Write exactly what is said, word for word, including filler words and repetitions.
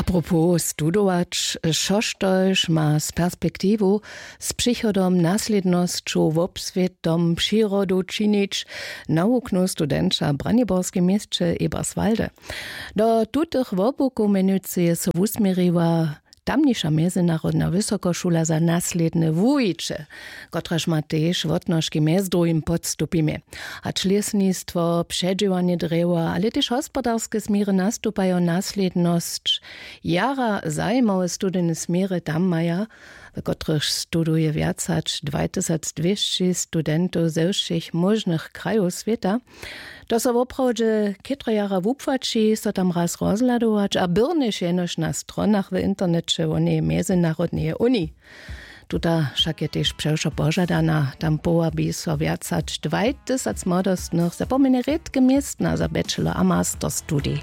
Propos studować, šoštož ma z perspektiwu, z přichodom, naslědnosću, wobswětom, přirodu činić, nawuknu studenća w braniborskim měsće eberswalde. Do tutych wobłukow mjenujcy je so wusměriła tamniša mjezynarodna wysokošula za naslědne wuwiće, kotraž ma tež wotnožki mjez druhim podstupimje. Hač lěsnistwo, předźěłanje drjewa, ale tež hospodarske směry nastupajo naslědnosć, jara zajimawe studijne směry tam maja, w kotrychž studuje wjac hač dwajtysacdwěsći studentow ze wšěch móžnych krajow swěta. To so woprawdźe chětro jara wupłaći, so tam raz rozhladować a byrnjež jenož na stronach w interneće wonej mjezynarodneje uniji. Tuta wšak je tež přewšo požadana. Tam powabi so wjac hač dwajtysac młodostnych za pomjene rědke městna za bachelor a master studij.